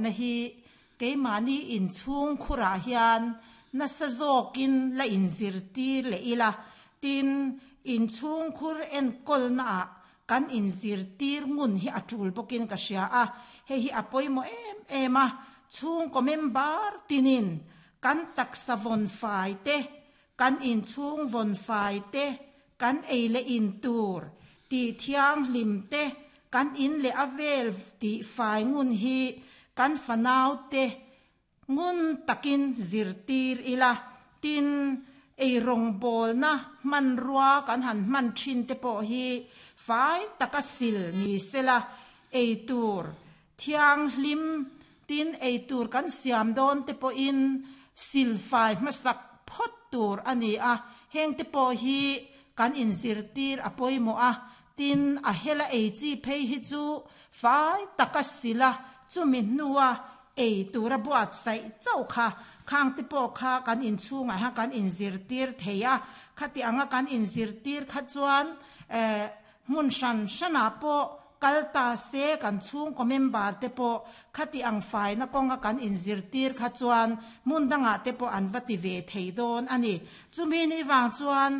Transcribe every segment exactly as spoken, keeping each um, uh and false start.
na hi keimahni inchhung khurah hian nasa zawkin la inzirtir leh ila. Tin, inchhung khur enkawlna ah kan inzirtir ngun hi a tul bawkin ka hria a. Hei hi a pawimawh em em a, chhungkaw member tinin kan taksa vawn fai te, kan inchhung vawn fai te, kan ei leh in tur tih thianghlim te, kan in leh a vel tih fai ngun hi kan fanau te ngun takin zirtir ila. Tin, eirawngbawlna hmanrua kan han hman thin te pawh hi fai taka sil ni sela, eitur thianghlim tin eitur kan siam dawn te pawhin sil fai hmasak phawt tur a ni a. Heng te pawh hi kan inzirtir a pawimawh a. Tin, a hela ei chi phei hi chu fai taka sila chumi hnua ei tura buatsaih chauh kha khang te pawh kha kan inchhungah hian kan inzirtir thei a. Khati anga kan inzirtir kha chuan eh hmun hran hranah pawh kal ta se kan chhungkaw member te pawh khati ang faina kawnga kan inzirtir kha chuan hmun dangah te pawh an va ti ve thei dawn a ni. Chumi ni vang chuan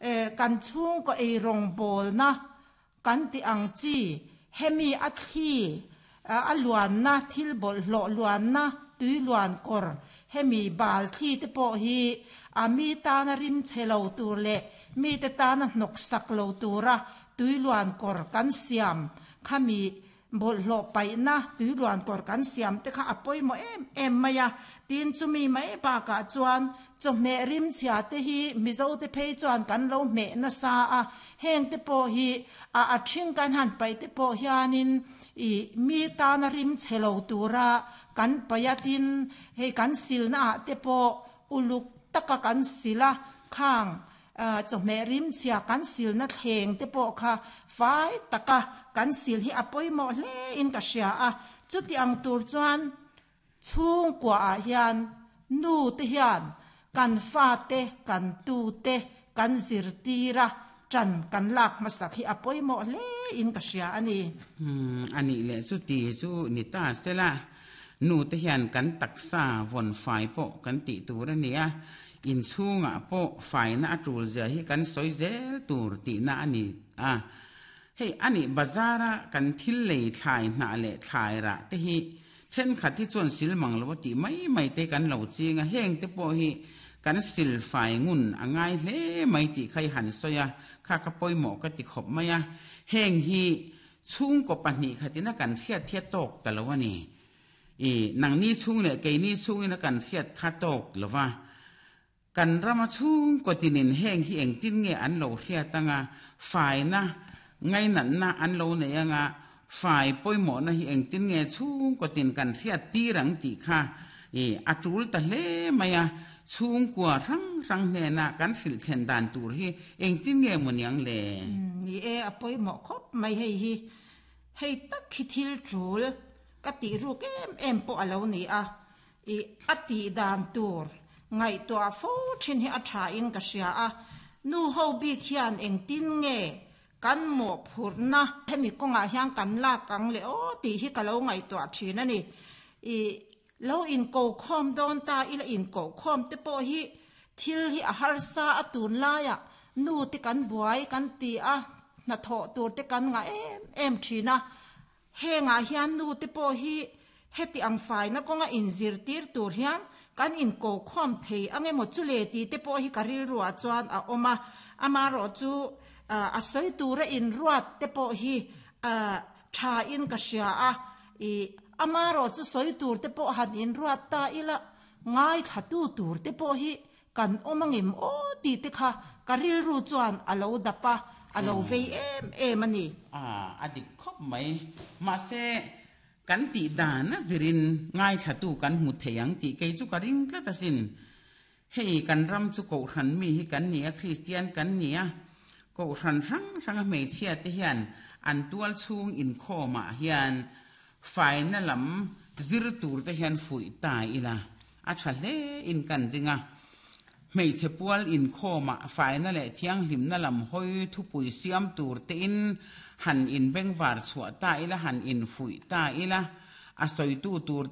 eh kan chhungkaw eirawngbawlna kan ti ang chi hemi a thli a luanna thil bawlhhlawh luanna tui luan kawr hemi bal thli te pawh hi a mi tana rim chhe lo tur leh mi te tana hnawk sak lo tura tui luan kawr kan siam khami bawlhhlawh paihna tui luan kawr kan siam te kha a pawimawh em em mai a. Tin, chumi mai bakah chuan chawhmeh rim chhia te hi Mizo te phei chuan kan lo hmeh nasa a. Heng te pawh hi a a thing kan han paih te pawh hianin i mi tana rim chhe lo tura kan paih a. Tin, hei kan silna ah te pawh uluk taka kan sil a, khang chawhmeh rim chhia kan silna thleng te pawh kha fai taka kan sil hi a pawimawh hle in ka hria a. Chuti ang tur chuan chhungkua ah hian nu te hian kan fa te kan tu te kan zirtir a, tan kan lak hmasak hi a pawimawh hle in ka hria a ni. Umm a nih leh chuti chu ni ta sela, nu te hian kan taksa vawn fai pawh kan tih tur a ni a, inchhungah pawh faina a tul zia hi kan sawi zel tur tihna a ni a. Hei a nih bazara kan thil lei thlai hnah leh thlai rah te hi thenkhat hi chuan sil mang lo a tih mai mai te kan lo ching a, heng te pawh hi kan sil fai ngun a ngai hle mai tih kha i han sawi a, kha kha pawimawh ka ti khawp mai a. Heng hi chhungkaw pahnih khatin a kan hriat hi a tawk ta lo a ni. I nangni chhung leh keini chhungin a kan hriat kha tawk lo va, kan rama chhungkaw tinin heng hi engtin nge an lo hriat anga, faina ngainatna an lo nei anga, fai pawimawhna hi engtin nge chhungkaw tin kan hriat tir ang tih kha i a tul ta hle mai a. Chhungkua hrang hrang hnena kan hrilh thlen dan tur hi engtin nge maw niang le? Ni e, a pawimawh khawp mai hei hi. Hei tak hi thil tul ka tih ruk em em pawh a lo ni a, i a tih dan tur ngaihtuah fo thin hi a tha in ka hria a. Nu ho bik hian engtin nge kan mawhphurhna hemi kawngah hian kan lak ang le aw tih hi ka lo ngaihtuah thin a ni. I lo inko khawm dawn ta ila inko khawm te pawh hi thil hi a harsa a, tun laiah nu te kan buai kan ti a, hnathawh tur te kan ngah em em thin a. Hengah hian nu te pawh hi heti ang faina kawnga inzirtir tur hian kan inko khawm thei ang emaw chu le tih te pawh hi ka rilruah chuan a awm a. Amaherawhchu a sawi tura inruat te pawh hi tha in ka hria a. I amaherawhchu sawi tur te pawh han inruat ta ila ngaithlatu tur te pawh hi kan awm angem aw tih te kha ka rilru chuan a lo dap a, a lo vei em em a ni. A, a dik khawp mai. Mahse, kan tih dan a zirin ngaithlatu kan hmu thei ang tih kei chu ka ring tlat asin. Hei kan ram chu Kohhran mi hi kan ni a, Kristian kan ni a, Kohhran hrang hranga hmeichhia te hian an tual chhung inkhawmah hian faina lam zir tur te hian fuih ta ila a tha hle in kan ring a. Hmeichhe pual inkhawmah faina leh thianghlimna lam hawi thupui siam tur te in han inbengvar chhuah ta ila, han infuih ta ila, a sawitu tur te